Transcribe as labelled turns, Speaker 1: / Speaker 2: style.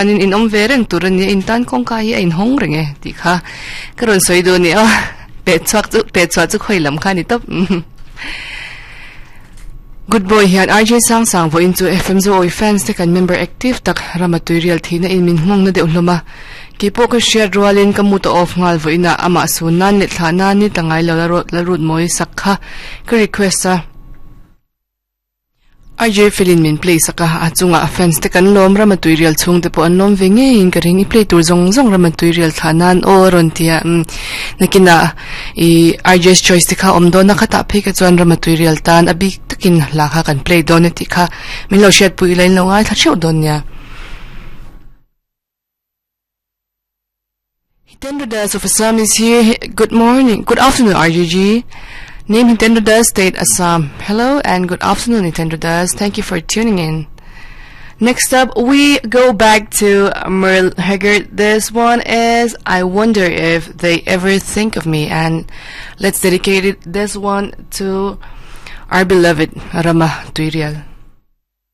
Speaker 1: Chuanin in awm ve reng tur a nia, in tan kawngka hi a inhawng reng e tih kha ka rawn sawi duh a ni a, peh chhuak chu peh chhuah chu khawi lam kha a ni tawp. Good boy hian RJ Sangsang vawiin chu FM Zo Awi fans te kan member active tak rama tuirial thihna in min nghawng na deuh hlawm a, keipawh ka hriat rualin ka mood a off nghal vawiinah amah sun nan leh thlah nan ni ta ngai lo la rut mawi sak kha ka request a. RJ Felin min play sak a, a chungah a fans te kan lawm, Rama Tuirial chhungte pawh an lawm ve ngeiin ka ring, i play tur zawng zawng Rama Tuirial thlah nan aw a rawn ti a, umm nakinah i RJ's Choice te kha awm dawn a, khatah phei kha chuan Rama Tuirial tan a bik takin hla kha kan play dawn a tih kha min lo hriatpui ila in lo ngaithla theuh dawn nia. Hitendra Das of Assam is here. Good morning. Good afternoon, RGG. Name Hitendra Das, State Assam. Hello and good afternoon, Hitendra Das. Thank you for tuning in. Next up, we go back to Merle Haggard. This one is I Wonder If They Ever Think of Me. And let's dedicate it, this one to our beloved Rama Tuirial.